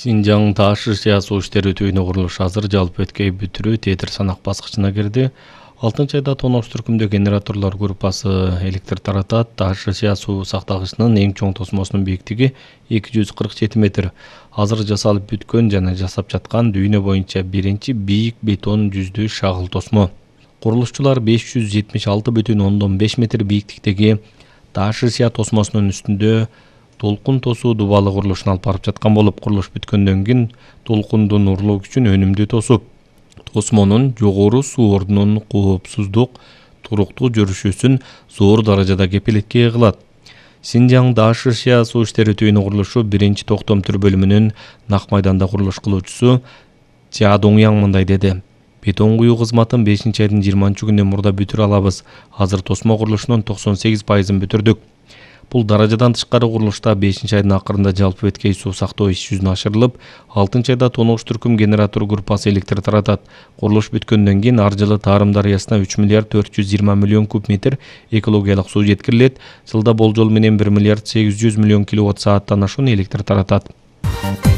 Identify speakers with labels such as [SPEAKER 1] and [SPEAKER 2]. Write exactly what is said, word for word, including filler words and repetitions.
[SPEAKER 1] Синжаң Тааш-Шия суу иштери түйүнү курулушу азыр, жалпы өткөй бүтүрүү тетир санак баскычына кирди. алтынчы айда Тонош түркүмдө генераторлор группасы электр таратат. Тааш-Шия суу сактагычынын эң чоң тосмосунун бийиктиги эки жүз кырк жети метр. Азыр жасалып бүткөн жана жасап жаткан дүйнө боюнча биринчи бийик бетон жүздүү шагыл тосмо. Курулушчулар беш жүз жетимиш алты бүтүн ондон беш метр бийиктиктеги Тааш-Шия тосмосунун үстүндө толкун тосуу дубалы курулушун алып барып жаткан болуп, курулуш бүткөндөн кийин толкундун урлоо күчүн өнүмдүү тосуп, тосмонун жогору суу ордунун коопсуздук туруктуу жүрүшүсүн зор даражада кепилетке кылат. Синжаң Тааш-Шия суу иштери түйүнү курулушу биринчи токтом түр бөлүмүнүн Нак майданда курулуш кылуучусу Ча Доңяң мындай деди: Бетон куюу кызматын бешинчи айдын жыйырманчы күнүнөн мурда бүтүрө алабыз. Азыр тосмо курулушунун токсон сегиз пайызын бүтүрдүк. Бул даражадан тышкары курулушта бешинчи айдын акырында жалпы өткөй суу сактоо иш жүзүнө ашырылып, алтынчы айда Тонош түркүм генератор группасы электр таратат. Курулуш бүткөндөн кийин ар жылы Тарым дарыясына үч миллиард төрт жүз жыйырма миллион куб метр экологиялык суу жеткирилет. Жылда болжол менен бир миллиард сегиз жүз миллион киловатт сааттан ашуун электр таратат.